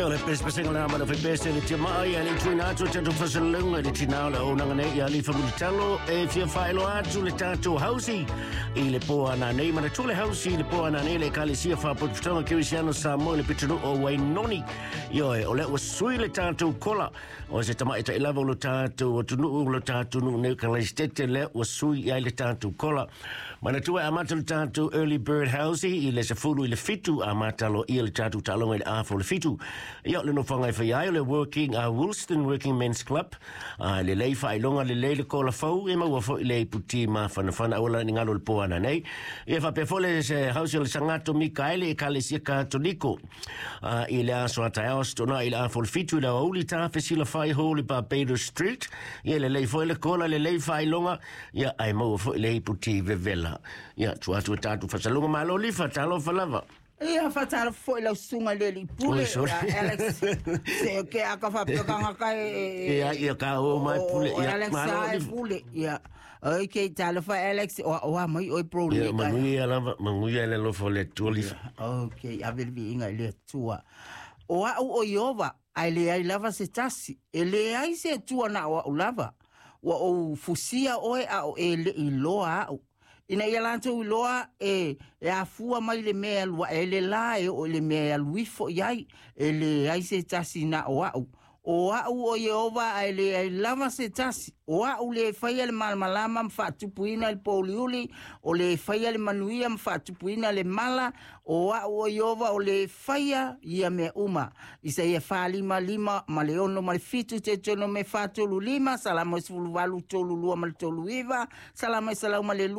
Ia, o le pesepesega le amana fai pese le tia maa ia le tuina atu tatou faasalaga i le tinā o le auaunaga nei ia Alifa Mulitalo e fia faailoa atu le tatou hausi i le po ananei. Manatua le hausi i le po ananei le Ekalesia Faapotopotoga Kerisiano Samoa i le pitonuu o Wainoni. Ioe, o lea ua sui le tatou kola o se tamaitai lava o lo tatou atunuu, o lo tatou nuu nei o Kalaisitete, lea ua sui i ai le tatou kola. Manatua e amata le tatou early bird house i le 6:50, amata aloaia le tatou taaloga i le 6:30. Ia, o le nofoaga e fai ai o le working Woolston Working Men's Club. Lelei faailoga, lelei le kola fou, e maua foi le iputi mafanafana aua la ni galo le po ananei. Ia faapea foi le se house o le Sagato Mikaele Ekalesia Katoliko i le aso a taeao Aso Toonai i le 6:30 i le aoauli Tafesilafa'i Hall i Barbados Street. Ia lelei foi le kola, lelei faailoga, ia ae maua foi le iputi vevela. Ia tua atu e tatou faasalaga malo lifa talofa lava. Ia faatalofa foi lau susuga i le alii pule Oi, sorry. ia Alex. Se ke aka faapea e Ia, ia ka o mai pule. O Ia, Alex malo ai lifa. pule. Ia. Oi ke talofa Alex o o mai oi bro Ia, le ka. manuia lava, manuia le alofa o le Atua lifa. Okay, ave le viiga i le Atua. O au o Iova, ae leai lava se tasi. E leai se Atua na o au lava. Ua ou fusia oe a o e le iloa au. Ina ia latou iloa e afua mai le mea e alu ae le la e oo i le mea e alu ifo i ai. E leai se tasi na o au. O au o Iehova ae leai lava se tasi. O au le faia le malamalama ma faatupuina le pouliuli, o le faia le manuia ma faatupuina le mala. O au o Iehova o le faia ia mea uma. Isaia 45 ma le 6 ma le 7 Teutonomi 4:35 Salamo 18:32 ma le 39 Salamo 102.